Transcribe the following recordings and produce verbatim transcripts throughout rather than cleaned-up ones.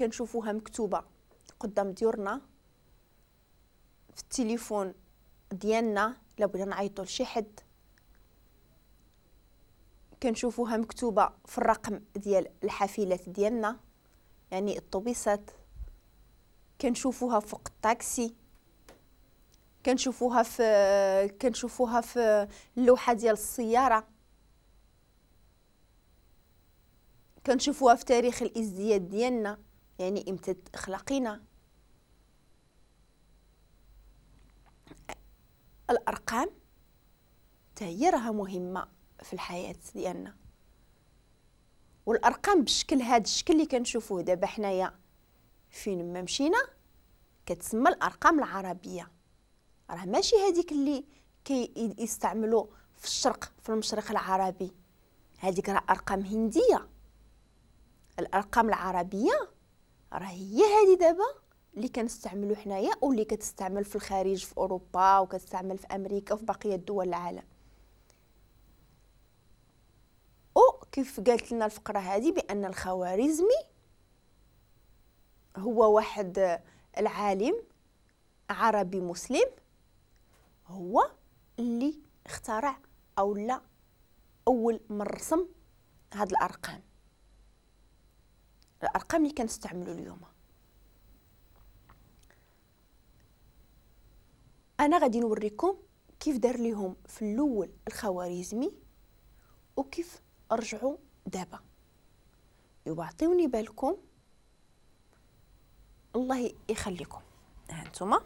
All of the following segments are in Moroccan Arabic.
كنشوفوها مكتوبة قدام ديورنا في التليفون ديالنا الا بغينا نعيطوا لشي حد، كنشوفوها مكتوبة في الرقم ديال الحافلات ديالنا يعني الطوبيسات، كنشوفوها فوق الطاكسي، كنشوفوها في كنشوفوها في اللوحة ديال السيارة، كنشوفوها في تاريخ الازدياد ديالنا يعني امتى خلقينا. الارقام حتى هي راها مهمة في الحياة ديالنا، والارقام بالشكل هذا الشكل اللي كنشوفوه دابا حنايا فين ما مشينا كتسمى الارقام العربية. راه ماشي هذيك اللي كيستعملوا في الشرق في المشرق العربي، هذيك راه ارقام هنديه. الارقام العربية راه هي هذه دابا اللي كنستعملوا حنايا واللي كتستعمل في الخارج في اوروبا وكتستعمل في امريكا وفي بقية دول العالم. وكيف قالت لنا الفقرة هذه بان الخوارزمي هو واحد العالم عربي مسلم هو اللي اخترع او لا اول من رسم هاد الارقام، الارقام اللي كنستعملوا اليوم. انا غادي نوريكم كيف دار ليهم في الاول الخوارزمي وكيف رجعوا دابا. ايوا عطيوني بالكم الله يخليكم. ها نتوما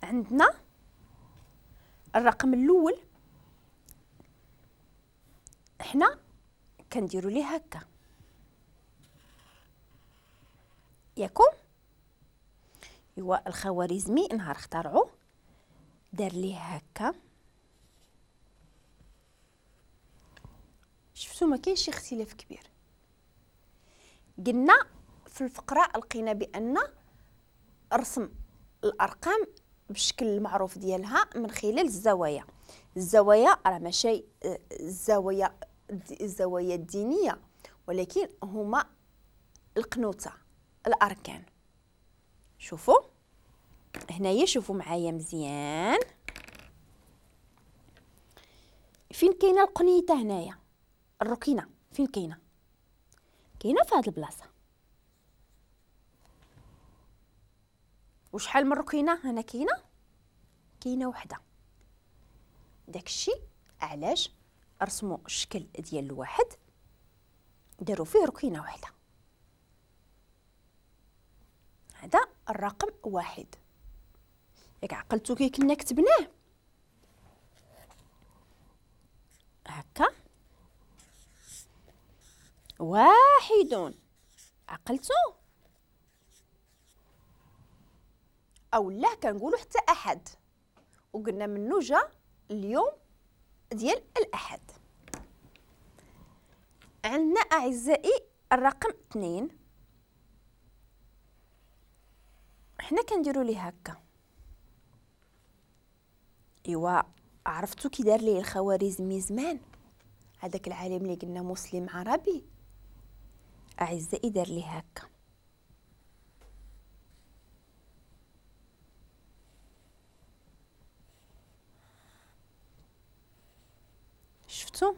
عندنا الرقم الاول حنا كنديروا ليه هكا ياكم. ايوا الخوارزمي نهار اخترعوه دار ليه هكا، شفتوا ما كاينش اختلاف كبير. قلنا في الفقرة لقينا بان رسم الارقام بالشكل المعروف ديالها من خلال الزوايا. الزوايا راه ماشي الزوايا الزوايا الدينية، ولكن هما القنوته الاركان. شوفوا هنايا، شوفوا معايا مزيان فين كاينه القنيته هنايا، الركينه فين كاينه؟ كاينه في هاد البلاصة. وشحال من ركينه هنا كاينه؟ كاينه وحده. داكشي علاش رسموا الشكل ديال الواحد داروا فيه ركينه وحده. هذا الرقم واحد. ياك عقلتو كي كنا كتبناه هكا واحد، عقلتو او لا؟ كنقولوا حتى احد، وقلنا منو جا اليوم ديال الاحد. عندنا اعزائي الرقم اثنين، حنا كنديروا ليه هكا. ايوا عرفتو كي دار ليه الخوارزمي زمان، هذاك العالم اللي قلنا مسلم عربي اعزائي دار ليه هكا. شفتو؟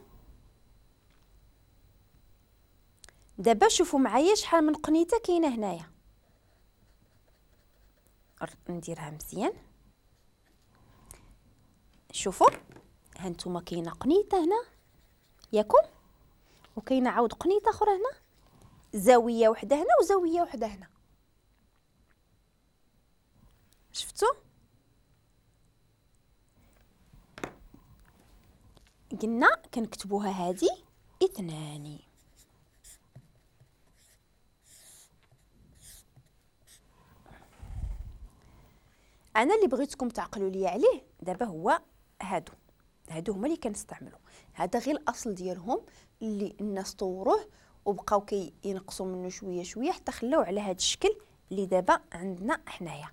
دابا شوفوا معايا شحال من قنيته كاينه هنايا. نديرها مزيان. شوفوا ها نتوما كاينه قنيته هنا ياكم، وكاينه عاود قنيته اخرى هنا، زاوية وحده هنا وزاويه وحده هنا. شفتوا؟ قلنا كنكتبوها هذه اثنان. انا اللي بغيتكم تعقلوا لي عليه دابا هو هادو، هادو هما اللي كنستعملوا. هذا غير الاصل ديالهم اللي الناس طوروه وبقاو كينقصوا منه شوية شوية حتى خلاو على هذا الشكل اللي دابا عندنا حنايا.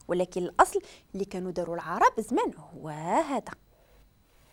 ولكن الاصل اللي كانوا داروا العرب زمان هو هذا.